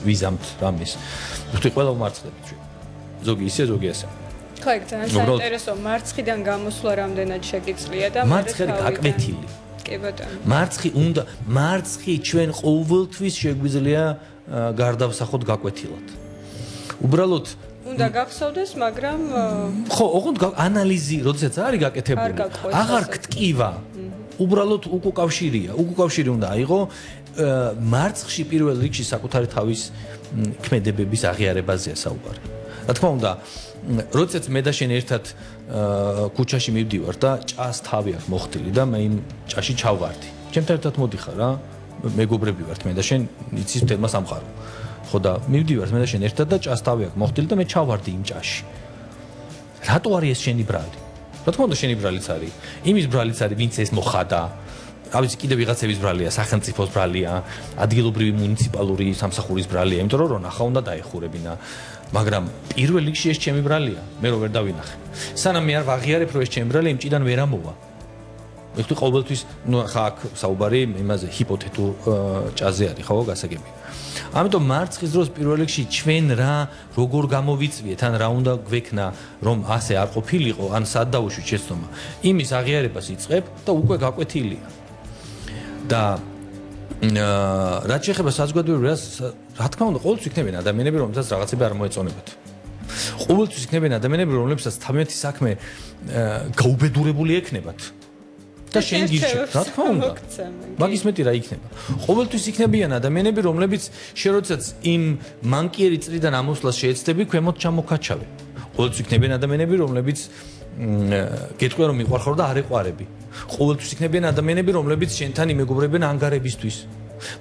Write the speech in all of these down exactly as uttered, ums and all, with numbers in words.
ვიზამთ რამის. ვთქვი ყველა უმარცხდებით ჩვენ. ზოგი ისე, ზოგი ასე. ხო, ეგ ძალიან საინტერესო მარცხიდან გამოსვლა რამდენად შეგიძლია და მარცხი გაკვეთილი. კი ბატონო. მარცხი უნდა მარცხი ჩვენ ყოველთვის შეგვიძლია გარდავსახოთ გაკვეთილად. უბრალოდ უნდა გახსოვდეს, მაგრამ ხო, ოღონდ ანალიზი, როდესაც არის გაკეთებული, აღარ გტკივა. უბრალოდ უკავშირია, უკავშირი უნდა აიღო მარცხში პირველ რიგში საკუთარი თავის ქმედებების აღიარებაზეა საუბარი. რა თქმა უნდა, როდესაც მე და შენ ერთად ქუჩაში მივდივარ და ჭას თავი აქვს მოხდილი და მე იმ ჭაში ჩავვარდი. ჩემთან ერთად მოდიხარ რა, მეგობრები ვართ მე და შენ, იცის თემა სამყარო. ხო და მივდივართ მე და შენ ერთად და ჭას თავი აქვს მოხდილი და მე ჩავვარდი იმ ჭაში. რატო არის ეს შენი ბრალი? რა თქმა უნდა შენი ბრალიც არის. იმის ბრალიც არის, ვინც ეს მოხადა. რა ვიცი, კიდე ვიღაცების ბრალია, სახელმწიფოს ბრალია, ადგილობრივი მუნიციპალური სამსახურის ბრალია, იმიტომ რომ რონახა უნდა დაეხურებინა. მაგრამ პირველ რიგში ეს ჩემი ბრალია, მე რო ვერ დავინახე. სანამ მე არ ვაღიარებ, რომ ეს ჩემი ბრალი იმ ჭიდან ვერ ამოვა. მე ვთქვი ყოველთვის, ნუ ხა აქ საუბარი იმაზე ჰიპოთეტურ ჭაზე არის, ხო, გასაგები. ამიტომ მარცხის დროს პირველ რიგში ჩვენ რა როგორ გამოვიწვიეთ, ან რა უნდა გვექნა, რომ ასე არ ყოფილიყო, ან სად დავუშვით შეცდომა. იმის აღიარებას იწყებ და უკვე გაკვეთილია. და რაც შეეხება საზოგადოებრივ რა თქმა უნდა ყოველთვის იქნებიან ადამიანები რომელსაც რაღაცები არ მოეწონებათ. ყოველთვის იქნებიან ადამიანები რომლებსაც თავიანთი საქმე გაუბედურებული ექნებათ. და შენ გირჩევ, რა თქმა უნდა. მაგის მეტი რა იქნება. ყოველთვის იქნებიან ადამიანები რომლებიც შენ როდესაც იმ მანკიერი წრიდან ამოსვლას შეეცდები, ქვემოთ ჩამოქაჩავე. ყოველთვის იქნებიან ადამიანები რომლებიც გეტყვიან რომ მიყვარხარ და არ ეყვარები. ყოველთვის იქნებიან ადამიანები რომლებიც შენთან იმეგობრებიან ანგარებისთვის.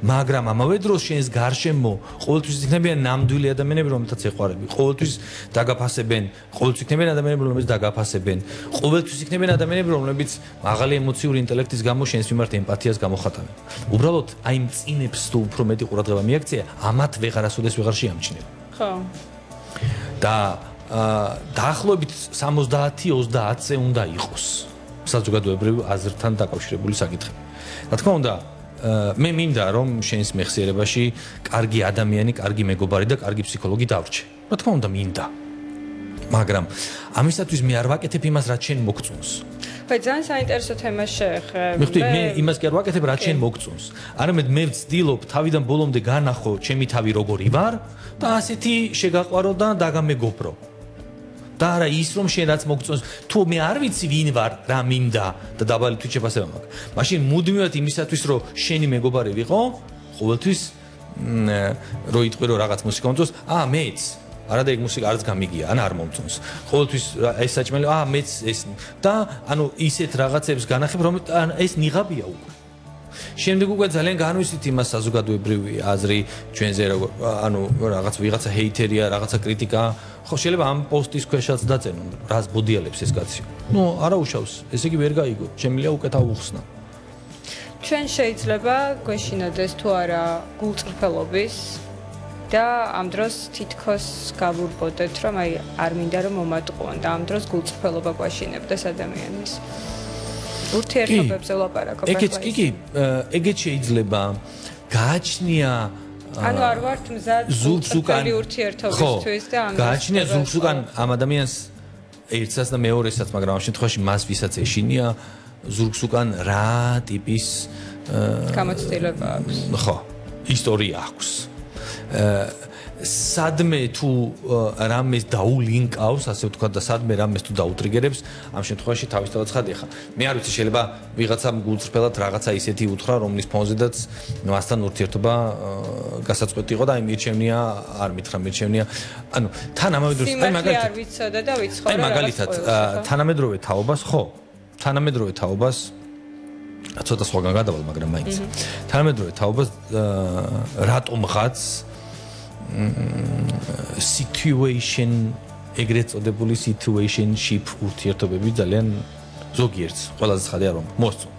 მაგრამ ამავე დროს შენს გარშემო ყოველთვის იქნებიან ნამდვილი ადამიანები რომელთაც ეყვარები. ყოველთვის დაგაფასებენ, ყოველთვის იქნებიან ადამიანები რომლებიც დაგაფასებენ. ყოველთვის იქნებიან ადამიანები რომლებიც მაღალი ემოციური ინტელექტის გამო შენს მიმართ ემპათიას გამოხატავენ. უბრალოდ აი იმ წინებს თუ უფრო მეტი ყურადღება მიაქცია, ამათ ვეღარასოდეს ვეღარ შეამჩნევ. ხო. და დაახლოებით სამოცდაათი ოცდაათზე უნდა იყოს საზოგადოებრივ აზრთან დაკავშირებული საკითხი. რა თქმა უნდა, მე მინდა რომ შენს მეხსიერებაში კარგი ადამიანი, კარგი მეგობარი და კარგი ფსიქოლოგი დავრჩე. რა თქმა უნდა, მინდა. მაგრამ ამისათვის მე არ ვაკეთებ იმას, რაც შენ მოგწონს. ხო, ძალიან საინტერესო თემა შეეხე. მიხდი, მე იმას კი არ ვაკეთებ, რაც შენ მოგწონს. არამედ მე ვცდილობ თავიდან ბოლომდე განახო ჩემი თავი როგორი ვარ და ასეთი შეგაყვარო და დაგამეგობრო. და არა ის რომ შენ რაც მოგწონს, თუ მე არ ვიცი ვინ ვარ, რა მინდა და დაბალი თვით შეფასება მაქვს. მაშინ მუდმივად იმისათვის რომ შენი მეგობარი ვიყო, ყოველთვის რო იტყვი რომ რაღაც მუსიკა მომწონს, აა მეც არა და ეგ მუსიკა არც გამიგია, ან არ მომწონს. ყოველთვის ეს საჭმელი, აა მეც ეს და ანუ ისეთ რაღაცებს განახებ, რომ ეს ნიღაბია უკვე. შემდეგ უკვე ძალიან განვისით იმას საზოგადოებრივი აზრი ჩვენზე ანუ რაღაც ვიღაცა ჰეითერია, რაღაცა კრიტიკა, ხო შეიძლება ამ პოსტის ქვეშაც დაწენონ, რას ბოდიალებს ეს კაცი. ნუ არა უშავს, ესე იგი ვერ გაიგო, შემიძლია უკეთ აუხსნა. ჩვენ შეიძლება გვეშინოდეს თუ არა გულწრფელობის და ამ დროს თითქოს გავურბოდეთ, რომ აი არ მინდა რომ მომატყუონ და ამ დროს გულწრფელობა გვაშინებდეს ადამიანის. ურთიერთობებზე ვლაპარაკობ. ეგეც კი კი, ეგეც შეიძლება გააჩნია ანუ არ ვართ მზად გულწრფელი ურთიერთობისთვის და ამ გააჩნია ზურგს უკან ამ ადამიანს ერთსაც და მეორესაც, მაგრამ ამ შემთხვევაში მას ვისაც ეშინია ზურგს უკან რა ტიპის გამოცდილება აქვს. ხო, ისტორია აქვს. სადმე თუ რამეს დაულინკავს, ასე ვთქვათ და სადმე რამეს თუ დაუტრიგერებს, ამ შემთხვევაში თავისთავად ცხადია ხა. მე არ ვიცი, შეიძლება ვიღაცამ გულწრფელად რაღაცა ისეთი უთხრა, რომლის ფონზედაც ნუ ასთან ურთიერთობა გასაწყვეტი იყო და აი მირჩევნია, არ მითხრა მირჩევნია. ანუ თანამედროვე აი მაგალითად არ ვიცოდა და ვიცხოვრე. აი მაგალითად თანამედროვე თაობას, ხო, თანამედროვე თაობას ცოტა სხვაგან გადავალ, მაგრამ მაინც. თანამედროვე თაობას რატომღაც situation ეგრეთ წოდებული situationship ურთიერთობები ძალიან ზოგიერთს ყველაზე ცხადია რომ მოსწონთ.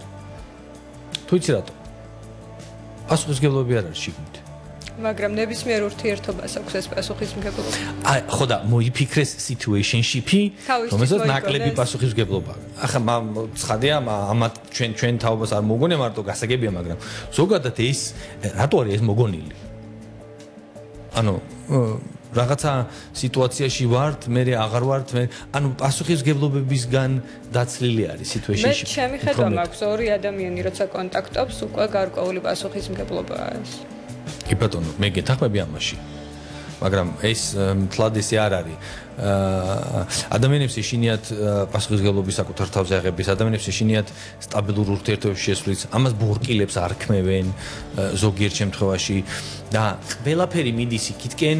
თუ იცი რატო? პასუხისმგებლობები არ არის შიგნით. მაგრამ ნებისმიერ ურთიერთობას აქვს ეს პასუხისმგებლობა. აი, ხო და მოიფიქრეს situationship-ი, რომელსაც ნაკლები პასუხისმგებლობა. ახლა ცხადია, ამათ ჩვენ ჩვენ თაობას არ მოგონია მარტო გასაგებია, მაგრამ ზოგადად ეს რატო არის ეს მოგონილი? ანუ რაღაცა სიტუაციაში ვართ, მე აღარ ვართ, მე ანუ პასუხისგებლობებისგან დაცლილი არის სიტუაციაში. მე ჩემი ხედვა მაქვს ორი ადამიანი როცა კონტაქტობს, უკვე გარკვეული პასუხისმგებლობაა ეს. კი ბატონო, მე გეთახმები ამაში. მაგრამ ეს მთლად ესე არ არის. ადამიანებს ეშინიათ პასუხისმგებლობის საკუთარ თავზე აღების, ადამიანებს ეშინიათ სტაბილურ ურთიერთობებში შესვლის, ამას ბორკილებს არ ქმევენ ზოგიერთ შემთხვევაში და ყველაფერი მიდის იქითკენ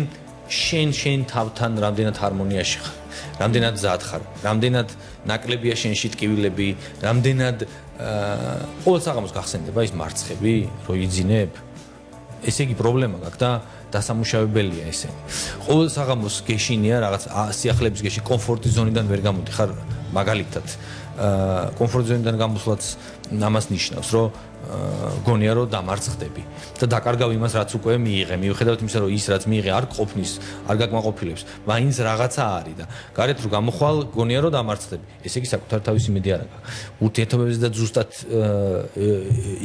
შენ შენ თავთან რამდენად ჰარმონიაში ხარ, რამდენად მზად ხარ, რამდენად ნაკლებია შენში ტკივილები, რამდენად ყოველ საღამოს გახსენდება ის მარცხები, რო იძინებ. ესე იგი პრობლემა გაქვს და დასამუშავებელია ესენი. ყოველ საღამოს გეშინია რაღაც სიახლეების გეში კომფორტის ზონიდან ვერ გამოდიხარ, მაგალითად. კომფორტ ზონიდან გამოსვლაც ამას ნიშნავს, რომ გონია რომ დამარცხდები და დაკარგავ იმას, რაც უკვე მიიღე. მიუხედავად იმისა, რომ ის რაც მიიღე არ ყოფნის, არ გაკმაყოფილებს, მაინც რაღაცა არის და გარეთ რო გამოხვალ, გონია რომ დამარცხდები. ესე იგი საკუთარ თავის იმედი არ აქვს. ურთიერთობებზე და ზუსტად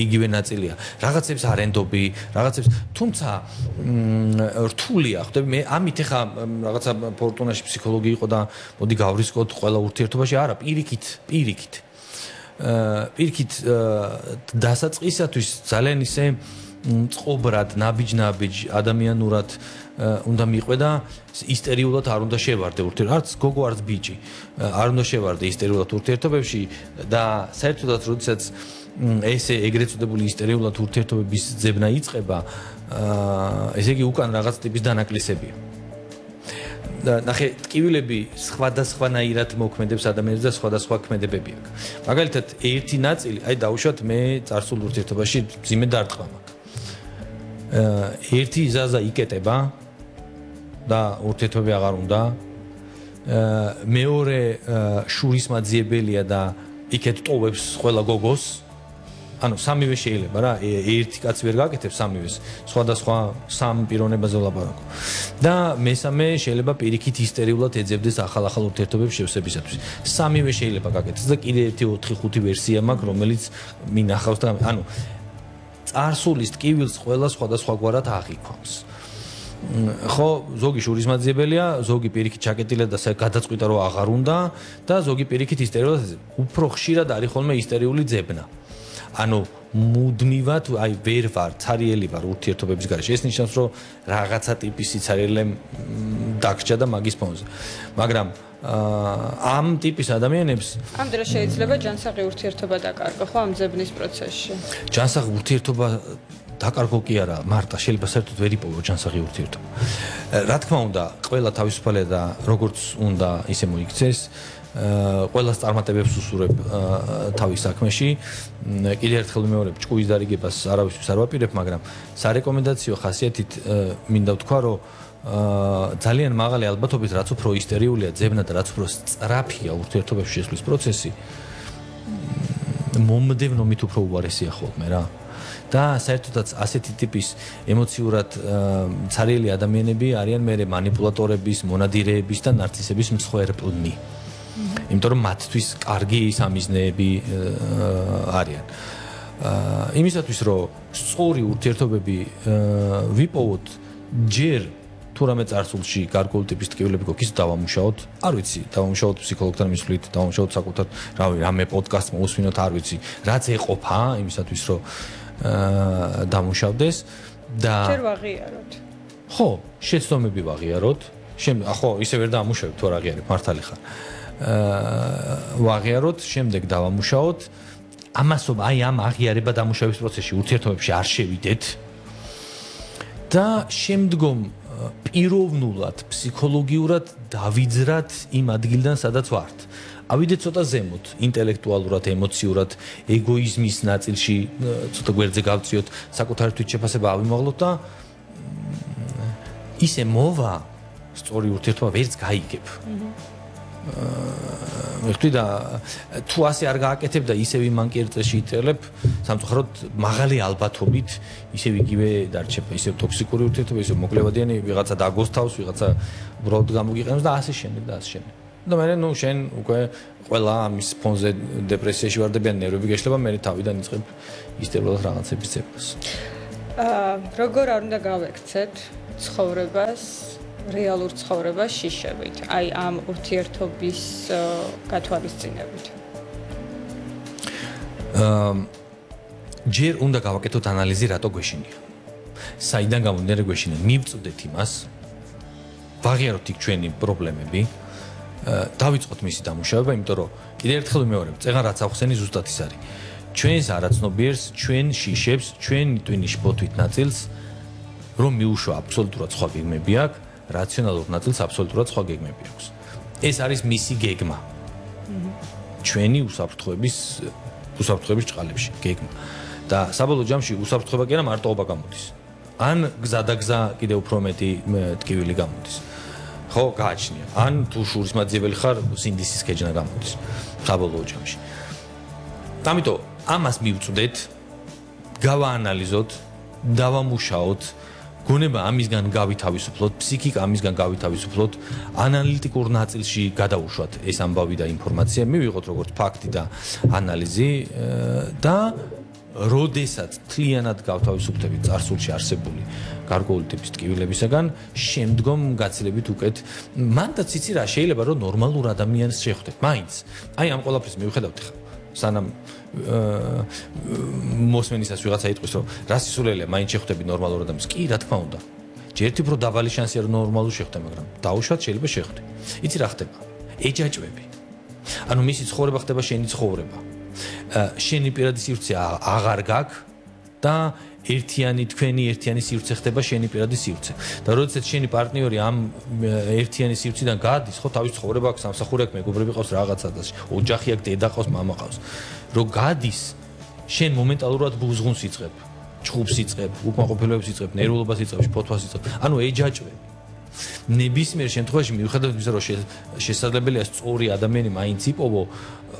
იგივე ნაწილია. რაღაცებს არ ენდობი, რაღაცებს, თუმცა რთულია, ხვდები, მე ამით ეხა რაღაცა ფორტუნაში ფსიქოლოგი იყო და მოდი გავრისკოთ ყველა ურთიერთობაში, არა, პირიქით, პირიქით. პირიქით დასაწყისათვის ძალიან ისე წყობრად, ნაბიჯ-ნაბიჯ, ადამიანურად უნდა მიყვე და ისტერიულად არ უნდა შევარდე ურთიერთობებში. არც გოგო, არც ბიჭი არ უნდა შევარდე ისტერიულად ურთიერთობებში და საერთოდაც როდესაც ესე ეგრეთ წოდებული ისტერიულად ურთიერთობების ძებნა იწყება, ესე იგი უკან რაღაც ტიპის დანაკლისებია. ნახე, ტკივილები სხვადასხვანაირად მოქმედებს ადამიანებს და სხვადასხვა ქმედებები აქვს. მაგალითად, ერთი ნაწილი, აი დავუშვათ მე წარსულ ურთიერთობაში მძიმე დარტყმა მაქვს. ერთი იზაზა იკეტება და ურთიერთობები აღარ უნდა. მეორე შურისმაძიებელია და იქეთ ტოვებს ყველა გოგოს. ანუ სამივე შეიძლება რა, ერთი კაცი ვერ გაკეთებს სამივეს, სხვადასხვა სამ პიროვნებაზე ვლაპარაკო. და მესამე შეიძლება პირიქით ისტერიულად ეძებდეს ახალ-ახალ ურთიერთობებს შევსებისათვის. სამივე შეიძლება გაკეთდეს და კიდე ერთი ოთხი ხუთი ვერსია მაქვს, რომელიც მინახავს და ანუ წარსულის ტკივილს ყველა სხვადასხვაგვარად აღიქვამს. ხო, ზოგი შურისმაძიებელია, ზოგი პირიქით ჩაკეტილია და გადაწყვიტა რომ აღარ უნდა და ზოგი პირიქით ისტერიულად უფრო ხშირად არის ხოლმე ისტერიული ძებნა. ანუ მუდმივად აი ვერ ვარ, ცარიელი ვარ ურთიერთობების გარეშე. ეს ნიშნავს, რომ რაღაცა ტიპის სიცარიელე დაგჭა და მაგის ფონზე. მაგრამ ამ ტიპის ადამიანებს ამ დროს შეიძლება ჯანსაღი ურთიერთობა დაკარგო, ხო, ამ ძებნის პროცესში. ჯანსაღი ურთიერთობა დაკარგო კი არა, მარტა შეიძლება საერთოდ ვერ იპოვო ჯანსაღი ურთიერთობა. რა თქმა უნდა, ყველა თავისუფალია და როგორც უნდა ისე მოიქცეს. ყველას წარმატებებს უსურებ თავის საქმეში. კიდე ერთხელ ვიმეორებ, ჭკუის დარიგებას არავისთვის არ ვაპირებ, მაგრამ სარეკომენდაციო ხასიათით მინდა ვთქვა, რომ ძალიან მაღალი ალბათობით, რაც უფრო ისტერიულია ძებნა და რაც უფრო სწრაფია ურთიერთობებში შესვლის პროცესი, მომდევნობით უფრო უარესია ხოლმე რა. და საერთოდაც ასეთი ტიპის ემოციურად ცარიელი ადამიანები არიან მე მანიპულატორების, მონადირეების და ნარცისების მსხვერპლნი. იმიტომ რომ მათთვის კარგი სამიზნეები არიან. იმისათვის რომ სწორი ურთიერთობები ვიპოვოთ, ჯერ თუ რამე წარსულში გარკვეული ტიპის ტკივილები გვაქვს, დავამუშაოთ, არ ვიცი, დავამუშაოთ ფსიქოლოგთან მისვლით, დავამუშაოთ საკუთარ, რავი, რამე პოდკასტ მოусმინოთ, არ ვიცი, რაც ეყოფა იმისათვის რომ დამუშავდეს და ჯერ ვაღიაროთ. ხო, შეცდომები ვაღიაროთ. შემ ხო, ისე ვერ დაამუშავებ თუ არ აღიარებ, მართალი ხარ. ვაღიაროთ, შემდეგ დავამუშაოთ. ამასო აი ამ აღიარება დამუშავების პროცესში ურთიერთობებში არ შევიდეთ. და შემდგომ პიროვნულად, ფსიქოლოგიურად დავიძრათ იმ ადგილიდან, სადაც ვართ. ავიდეთ ცოტა ზემოთ, ინტელექტუალურად, ემოციურად, ეგოიზმის ნაწილში ცოტა გვერდზე გავწიოთ, საკუთარი თვითშეფასება ავიმაღლოთ და ისე მოვა სწორი ურთიერთობა ვერც გაიგებ. მეხტი და თუ ასე არ გააკეთებ და ისევ იმან კერწეში იწერლებ, სამწუხაროდ მაღალი ალბათობით ისევ იგივე დარჩება, ისევ ტოქსიკური ურთიერთობა, ისევ მოკლევადიანი, ვიღაცა დაგოსთავს, ვიღაცა უბრალოდ გამოგიყენებს და ასე შემდეგ და ასე შემდეგ. და მე ნუ შენ უკვე ყველა ამის ფონზე დეპრესიაში ვარდებიან, ნერვები გეშლება, მე თავიდან იწყებ ისტერულად რაღაცების ძებნას. აა როგორ არ უნდა გავექცეთ ცხოვრებას, რეალურ ცხოვრებას შიშებით, აი ამ ურთიერთობის გათვალისწინებით. ჯერ უნდა გავაკეთოთ ანალიზი, რატო გვეშინია. საიდან გამომდინარე გვეშინია? მივწვდეთ იმას, ვაღიაროთ იქ ჩვენი პრობლემები, დავიწყოთ მისი დამუშავება, იმიტომ რომ კიდევ ერთხელ ვიმეორებ, წეგან რაც ახსენი ზუსტად ის არის. ჩვენს არაცნობიერს, ჩვენ შიშებს, ჩვენ ტვინის ბოთვით ნაწილს, რომ მიუშვა აბსოლუტურად სხვა გეგმები აქვს, რაციონალურ ნაწილს აბსოლუტურად სხვა გეგმები აქვს. ეს არის მისი გეგმა. ჩვენი უსაფრთხოების უსაფრთხოების ჭყალებში გეგმა. და საბოლოო ჯამში უსაფრთხოება კი არა მარტოობა გამოდის. ან გზადაგზა კიდევ უფრო მეტი ტკივილი გამოდის. ხო, გააჩნია. ან თუ შურისმაძიებელი ხარ, სინდისის ქეჯნა გამოდის. საბოლოო ჯამში. ამიტომ ამას მივწვდეთ, გავაანალიზოთ, დავამუშაოთ, გონება ამისგან გავითავისუფლოთ, ფსიქიკა ამისგან გავითავისუფლოთ, ანალიტიკურ ნაწილში გადაუშვათ ეს ამბავი და ინფორმაცია, მივიღოთ როგორც ფაქტი და ანალიზი და როდესაც თლიანად გავთავისუფლდებით წარსულში არსებული გარკვეული ტიპის ტკივილებისაგან, შემდგომ გაცილებით უკეთ, მანდაც იცი რა, შეიძლება რომ ნორმალურ ადამიანს შეხვდეთ, მაინც. აი ამ ყველაფრის მივხედავთ ხა. სანამ მოსმენისას ვიღაცა იტყვის რომ რა სისულელია მაინც შეხვდები ნორმალურ ადამიანს კი რა თქმა უნდა ჯერთი უფრო დაბალი შანსია რომ ნორმალურ შეხვდე მაგრამ დაუშვათ შეიძლება შეხვდე იცი რა ხდება ეჯაჭვები ანუ მისი ცხოვრება ხდება შენი ცხოვრება შენი პირადი სივრცე აღარ გაქვს და ერთიანი თქვენი ერთიანი სივრცე ხდება შენი პირადი სივრცე და როდესაც შენი პარტნიორი ამ ერთიანი სივრციდან გადის ხო თავის ცხოვრება აქვს სამსახური აქვს მეგობრები ყავს რაღაცა და ოჯახი აქვს დედა ყავს მამა ყავს რომ გადის შენ მომენტალურად ბუზღუნს იწყებ ჩხუბს იწყებ უკმაყოფილებას იწყებ ნერვულობას იწყებ ფოთვას იწყებ ანუ ეჯაჭვები ნებისმიერ შემთხვევაში მიუხედავად იმისა რომ შესაძლებელია სწორი ადამიანი მაინც იპოვო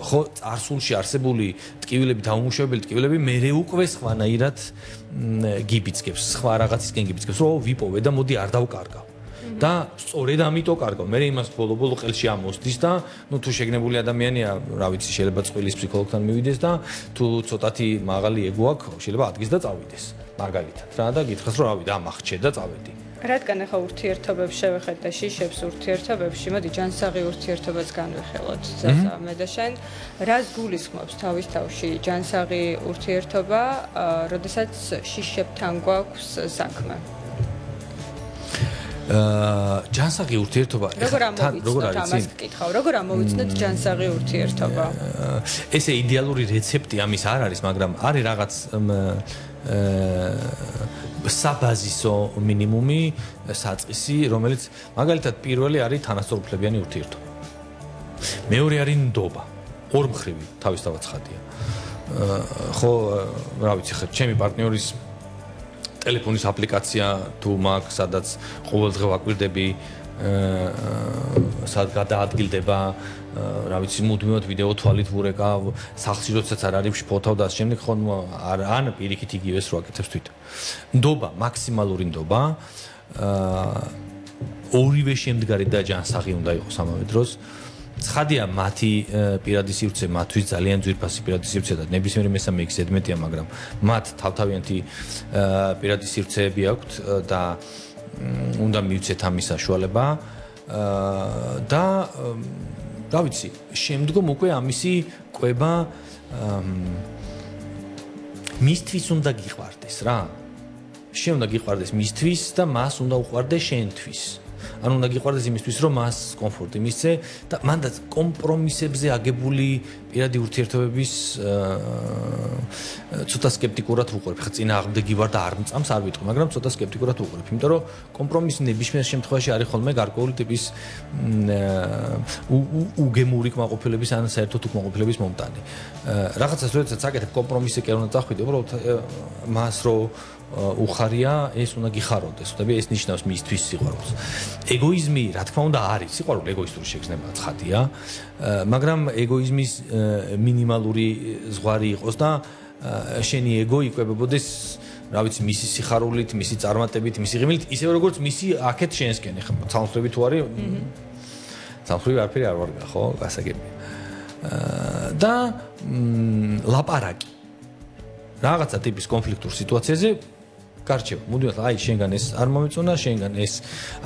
ხო წარსულში არსებული ტკივილები დაუმუშავებელი ტკივილები მერე უკვე სხვანაირად გიბიძგებს სხვა რაღაცისკენ გიბიძგებს რომ ვიპოვე და მოდი არ დავკარგავ და სწორედ ამიტომ კარგავ მე იმას ბოლო-ბოლო ყელში ამოსდის და ნუ თუ შეგნებული ადამიანია რა ვიცი შეიძლება წყვილის ფსიქოლოგთან მივიდეს და თუ ცოტათი მაღალი ეგო აქვს შეიძლება ადგეს და წავიდეს მაგალითად რა და გითხრას რომ რავი და ამახჩე და წავედი რადგან ახლა ურთიერთობებს შევეხეთ და შიშებს ურთიერთობებში, მოდი ჯანსაღი ურთიერთობაც განვიხილოთ. ზაზა, მე და შენ რას გულისხმობს თავის თავში ჯანსაღი ურთიერთობა, როდესაც შიშებთან გვაქვს საქმე? აა ჯანსაღი ურთიერთობა როგორ ამოვიცნოთ ამას გკითხავ, როგორ ამოვიცნოთ ჯანსაღი ურთიერთობა? ესე იდეალური რეცეპტი ამის არ არის, მაგრამ არის რაღაც საბაზისო მინიმუმი საწყისი, რომელიც მაგალითად პირველი არის თანასწორუფლებიანი ურთიერთობა. მეორე არის ნდობა. ორმხრივი თავისთავად ცხადია. ხო, რა ვიცი, ხა ჩემი პარტნიორის ტელეფონის აპლიკაცია თუ მაქვს, სადაც ყოველდღე ვაკვირდები, სად გადაადგილდება, რა ვიცი, მუდმივად ვიდეო თვალით ვურეკავ, სახლში როდესაც არ არის ფოთავ და ამ შემდეგ ხო ან პირიქით იგივეს რო აკეთებს თვითონ. ნდობა, მაქსიმალური ნდობა, ორივე შემდგარი და ჯანსაღი უნდა იყოს ამავე დროს. ცხადია, მათი პირადი სივრცე მათთვის ძალიან ძვირფასი პირადი სივრცე და ნებისმიერ მესამე იქ ზედმეტია, მაგრამ მათ თავთავიანთი პირადი სივრცეები აქვთ და უნდა მივცეთ ამის საშუალება და რა ვიცი, შემდგომ უკვე ამისი კვება მისთვის უნდა გიყვარდეს რა. შენ უნდა გიყვარდეს მისთვის და მას უნდა უყვარდეს შენთვის. ანუ უნდა გიყვარდეს იმისთვის, რომ მას კომფორტი მისცე და მანდაც კომპრომისებზე აგებული პირადი ურთიერთობების ცოტა სკეპტიკურად ვუყურებ. ხა წინააღმდეგი ვარ და არ მწამს არ ვიტყვი, მაგრამ ცოტა სკეპტიკურად ვუყურებ, იმიტომ რომ კომპრომისი ნებისმიერ შემთხვევაში არის ხოლმე გარკვეული ტიპის უგემური კმაყოფილების ან საერთოდ უკმაყოფილების მომტანი. რაღაცას როდესაც აკეთებ კომპრომისი კი არ უნდა წახვიდე, უბრალოდ მას რო უხარია, ეს უნდა გიხაროდეს, ხდები, ეს ნიშნავს მისთვის სიყვარულს. ეგოიზმი, რა თქმა უნდა, არის სიყვარული ეგოისტური შეგრძნება ცხადია, მაგრამ ეგოიზმის მინიმალური ზღვარი იყოს და შენი ეგო იკვებებოდეს, რა ვიცი, მისი სიხარულით, მისი წარმატებით, მისი ღიმილით, ისევე როგორც მისი აქეთ შენსკენ, ხა ცალმხრივი თუ არის, ცალმხრივი არაფერი არ ვარ, ხო, გასაგებია. და ლაპარაკი რაღაცა ტიპის კონფლიქტურ სიტუაციაზე გარჩევა. მოდივარ, აი შენგან ეს არ მომეწონა, შენგან ეს